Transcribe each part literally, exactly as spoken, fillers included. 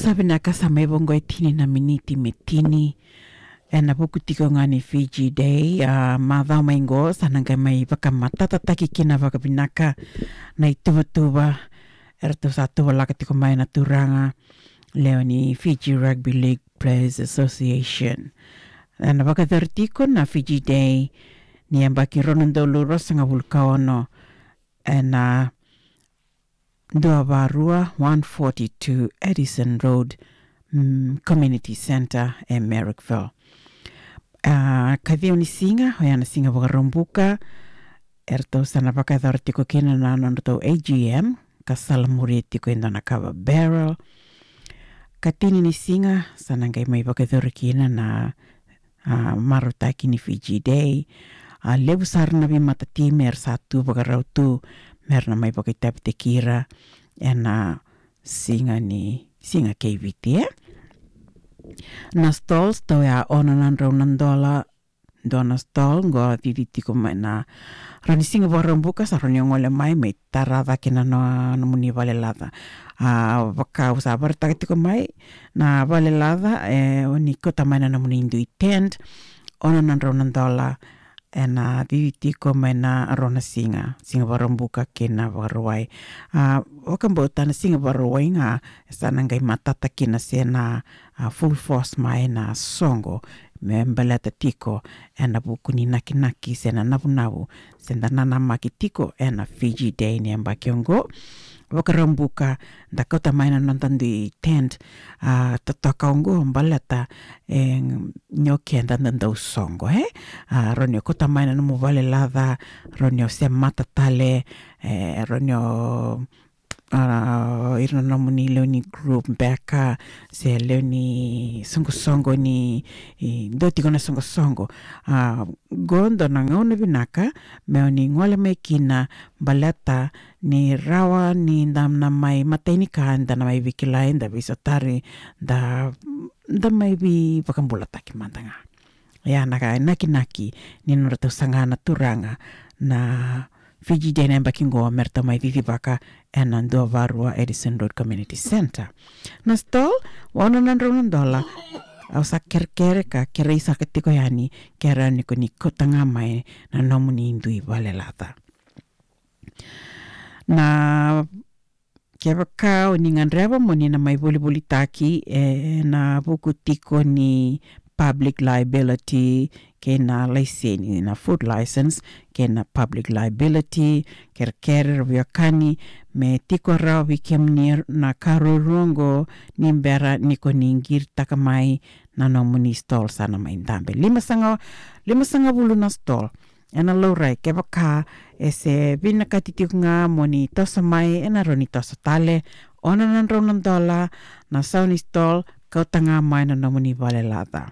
Sa vinaka, sa mai vaqo e tini na miniti me tini. Ena vuku tiko ga ni Fiji Day, a, macawa mai qo sa na qai mai vakamatatataki kina vakavinaka na ituvatuva eratou sa tuvalaka tiko mai na turaga lewe ni Fiji Rugby League Players Association. Ena vakayacori tiko na Fiji Day ni yabaki rua na udolu ruasagavulu ka ono ena dua va rua, one forty-two Addison Road, mm, Community Centre e Marrickville. A, ka ciwa ni siga, oya na siga Vakaraubuka, eratou sa na vakayacora tiko kina na nodratou A G M, ka salamuria tiko e dua na kava barrel. Ka tini ni siga, sa na qai mai vakayacori kina na, a, marautaki ni Fiji Day. A, levu sara na veimatatimi era sa tu vakarau tu mera na mai vakaitavitaki ira ena siga ni, siga kei Viti, e? Na stalls, tau ya ono na drau na dola, dua na stall, qo cici tiko mai na rawa ni siga Vakaraubuka, sa rawa ni gole mai, mai tara cake na no-, nomuni valelaca. A, vaka au sa vakaraitaka tiko mai, na valelaca, e, o ni kauta mai na nomuni dui tent, ono na drau na dola, ena cici tiko mai na rua na siga, siga Vakaraubuka kei na Vakarauwai. A, vakabauta na siga Vakarauwai ga, sa na qai matata kina se na, a, full force mai na soqo, me baleta tiko ena vuku ni nakinaki se na navunavu se da nanamaki tiko ena Fiji Day ni yabaki oqo. Vakaraubuka, da kauta mai na noda dui tent, a, totoka oqo baleta, e, ni o keda da dau soqo, e? A, rawa ni o kauta mai na nomu valelaca, rawa ni o semata tale, e, rawa ni o, a, ira na nomuni lewe ni group beka, se lewe ni soqosoqo ni, i, dua tiko na soqosoqo. A, qo dua na gauna vinaka me o ni gole mai kina baleta ni rawa ni da na mai matai ni ka, da na mai veikilai, da veisotari, da, da mai veivakabulataki mada ga. Ia na ka e nakinaki ni nodratou saga na turaga na Fiji Day na yabaki qo me ratou mai cicivaka ena dua va rua Addison Road Community Centre. Na stall, ono na drau na dola, au sa kerekere ka kerei saka tiko yani, ke rawa ni ko ni kauta ga mai na nomuni dui valelaca. Na kevaka o ni gadreva mo ni na mai volivolitaki, e, ena vuku tiko ni public liability, kei na laiseni, na food license, kei na public liability, kerekere ra veiwekani, me tiko rawa vei kemuni na ka ruarua oqo ni bera ni ko ni qiritaka mai na nomuni stall sa na mai dabe. Lima saga, lima sagavulu na stall. Ena laurai, kevaka e se vinakati tiko ga mo ni toso mai, ena rawa ni toso tale, ono na drau na dola na sau ni stall, kauta ga mai na nomuni valelaca.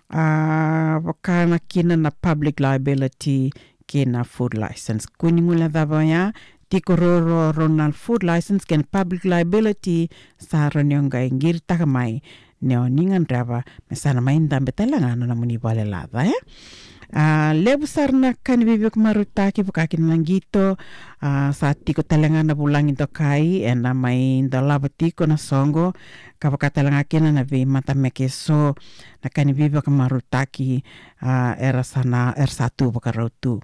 A, vaka na kina na public liability kei na food license. Ko ni guilecava ya, tiko ruarua rau na food license kei na public liability, sa rawa ni o qai qiritaka mai ni o ni gadreva me sa na mai dabe tale ga na nomuni valelaca, e? A, levu sara na ka ni veivakamarautaki, vaka kina na qito, a, sa tiko tale ga na vulagi dokai, ena mai dolava tiko na soqo, ka vaka tale ga kina na veimatameke eso, na ka ni veivakamarautaki, a, era sa na, era sa tu vakarau tu.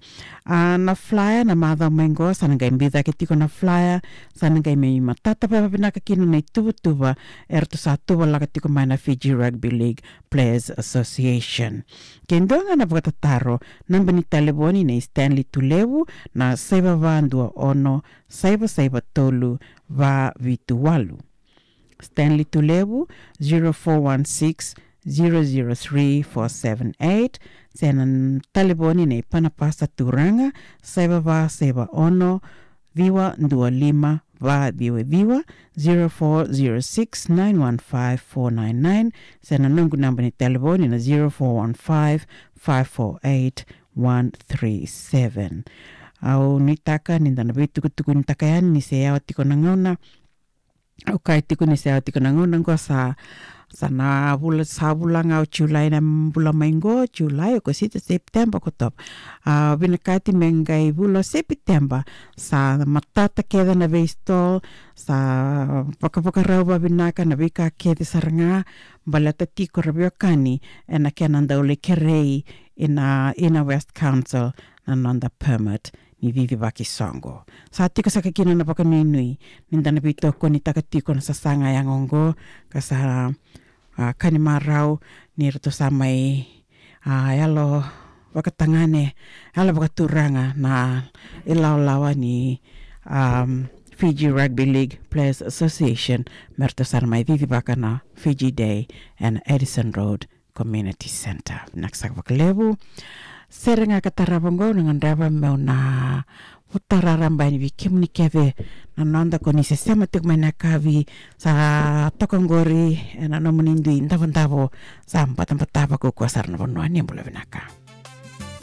A, na flyer, na macawa mai qo, sa na qai biu cake tiko na flyer, sa na qai mai matata vakavinaka kina na ituvatuva eratou sa tuvalaka tiko mai na Fiji Rugby League Players Association. Ke dua ga na vakatataro, naba ni talevoni nei Stanley Tulevu na saiva va dua ono, saiva saiva tolu, va vitu walu. Stanley Tulevu, zero four one six, zero zero three, four seven eight. Se na talevoni nei Panapasa Turaga, saiva va saiva ono, ciwa dua lima, va ciwa ciwa, zero four zero six, nine one five, four nine nine. Se na noqu naba ni talevoni na zero four one five, five four eight, one three seven. Au nuitaka ni da na veitukutukunitaka yani ni se yawa tiko na gauna Au kaya tiko ni se yawa tiko na gauna qo sa, sa na vula, sa vula ga o Julai na bula mai qo, Julai, Okosita, September, Okotova. A, vinakati me qai vula o September, sa matata kece na veistol, sa vakavakarau vavinaka na veika kece sara ga, baleta tiko ra veiwekani, ena kena dau lai kerei ina, ina West Council, na noda permit ni cicivaki soqo. Sa tiko saka kina na vakanuinui ni da na veitokonitaka tiko na sasaga yaga oqo, ka sa, a, ka ni marau ni ratou sa mai, a, yalo vakatagane, yalo vakaturaga na ilawalawa ni, um, Fiji Rugby League Players Association, me ratou sa na mai cicivaka na Fiji Day ena Addison Road Community Centre. Vinaka saka vakalevu. Sere ga ka tarava oqo, na gadreva meu na vutara raba yani vei kemuni kece na noda ko ni se sema tiko mai na yakavi, sa toka oqori ena nomuni dui davodavo, sa batabata vakaukaua sara na vanua. Ni bula vinaka.